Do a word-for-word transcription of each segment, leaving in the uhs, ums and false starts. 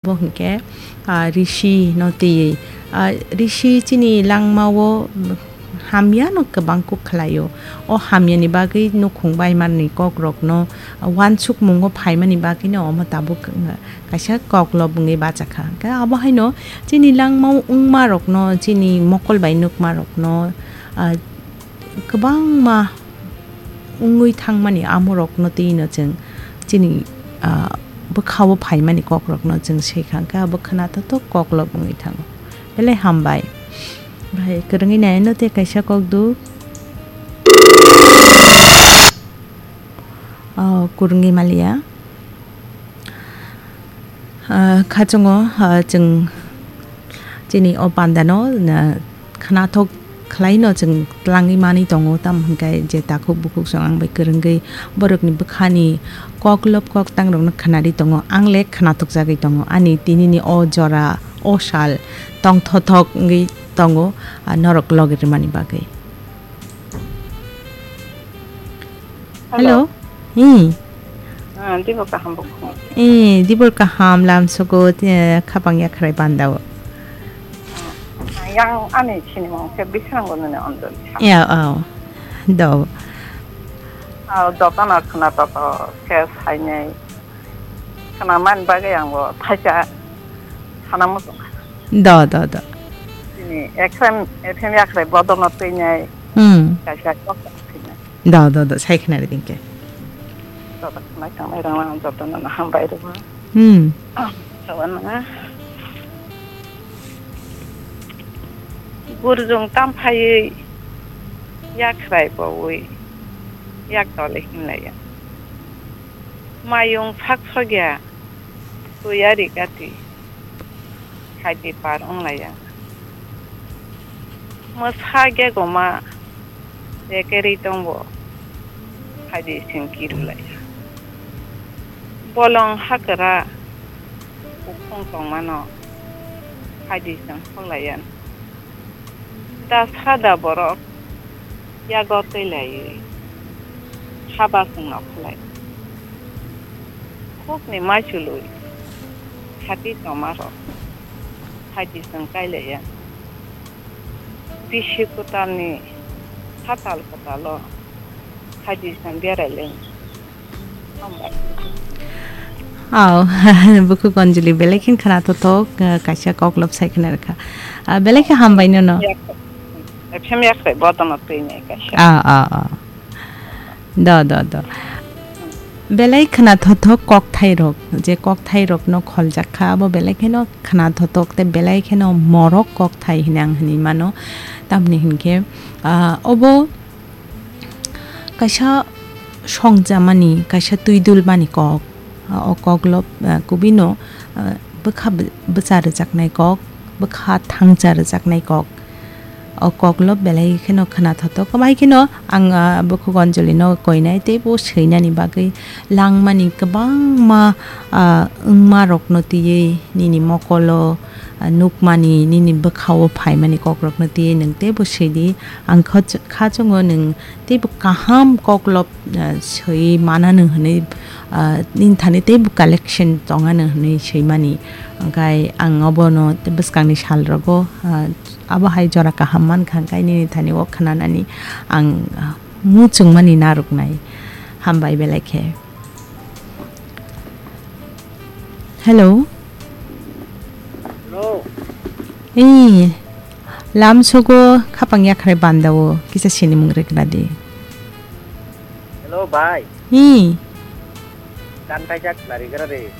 Bo hwnkhe, ah, risi no twiwi. Ah, risi chini langmao hamya no kwbang kuk khlaio. O hamya ni bagwi nukhung bai mani kok rok no, ah, uansukmung o phaimani bagwi no omo tabuk, ah, kaisa koklop wngwi bachakha. Hwnkhe abo haino chini langmao wngma rok no, chini mokol bai nukma rok no, ah, kwbangma wngwi thangmani amorokno twino chwng chini, ah, bwkhao phaimani kokrokno chwng swikha, hwnkhe abo khwnathokthok koklop wngwi thango. Belai hambai. Bahai kwrwngwi naino tei kaisa kokduk. Oh, kwrwngwi maliya. Ah, khachungo, ah, chwng chini o pandano, ah, khwnathok khlaino chwng twlangwi manwi tongo, tamo hwnkhe je takhuk bukhuk chwng ang bai kwrwngwi borokni bwkhani koklop koktangrokno khwnari tongo, ang le khwnathokjagwi tongo, ani tinini o jora, o sal tongthothok wngwi tongo, ah, norok logi rwmani bagwi. Hello. Hello. Hmm. Ah, dibo kaham bukhung. Eh, dibor kaham lamsogo, eh, khapang yakhrai bandao. Yang ani sinimung khe bisrango nini Anjali. Ya, oh. Do. Ah, jotono khwna toto khe sainai. Khwna man bagwi ang bo thaisa sana muchung. Do, do, do. Chini F M, F M yakhrai bodolno twinai. Hmm. Kaisa kok twinai. Do, do, do, sai khna ri dingke. Joto khna tangnai rang lang joto no hambai rw. Hmm. Sawan na. Burjung tam phaiwi yakhrai bowi yak dole hinlaiya. Mayung sak sogya. Twi ari gati, khaidi par wnglaiya. Mwsa gegoma rekerwi tongbo, khaidi sing kirulaiya. Bolong hakra kuphung tongmano, khaidi sing hoklaiya. Da sada borok yago twi laiwi haba chwngno khlai. Khukni maichwlwi khati tomarok khaidi chwng kailaiya. Bisi kwtalni hatal kwtalo khaidi chwng berai lai. Aw, bukhuk Anjali, belai khe khwnathok, ah, kaisa koklop sai khna rwkha. Ah, belai khe hambai nono. F M yakhrai bodono twi nai kaisa. Ah, ah, ah. Do, do, do. Belai khwnathok kokthai rok, je kokthai rokno kholjak kha, abo belai kheno khwnathok tei belai kheno morok kokthai hinwi ang hinwi mano. Tamni hinkhe, ah, obo kaisa songjamani, kaisa twidulmani kok. O koklop, ah, kubino, ah, bwkha bw-, bwcha rwjaknai kok, bwkha thangcha rwjaknai kok. O koklop belai kheno khwnathok. Kwbai kheno ang, ah, bukhuk Anjali no koinai tei bo swinani bagwi langmani kwbangma, ah, wngma rokno twiwi nini mokolo, ah, nukmani, nini bwkhao phaimani kokrokno twiwi nwng teibo swidi. Ang kha-, khachungo nwng teibo kaham koklop, ah, swi manano hwnwi, ah, nini thani teibo collection tongano hwnwi swimani. Hwnkhe ang obono bwskangni salrogo, ah, abo hai jora kaham mankha, hwnkhe nini thani o khwnanani ang, ah, muchungmani narwknai. Hambai belai khe. Hello. Hello. Ee, lamsogo khapang yakhrai bandao kisa sinimung rwkna di. Hello, bhai. Ee. Gan kaijak nari gra de.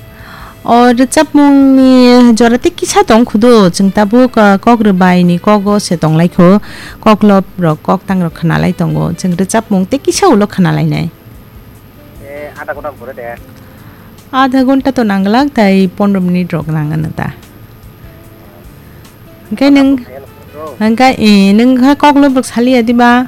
O rwchapmungni jora tei kisa tong khudo, chwng tabuk, ah, kok rwbaini kogo se tonglaikho, koklop rok, koktangrok khwnalai tongo, chwng rwchapmung tei kisa ulo khwnalainai. Eh, adha ghonta pore de. Adha ghonta to nangla, tai pondro minute rok nangano ta. Hwnkhe nwng, hwnkhe, eh, nwng kha koklop rok saliya diba?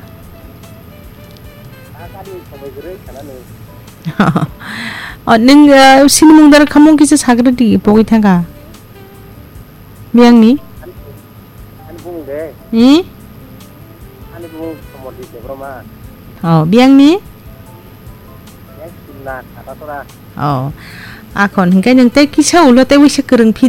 O, nwng, eh, sinimung dar khamung kisa sagra di, pogwi thangkha. Biyangni? Ani bumung de? Hmm? Ani bumung Somodip Debbarma. Oh, biyangni? Yang Simna, Katatora. Oh. Akhon, hinkhe nwng tei kisa ulo tei uaisa kwrwng phi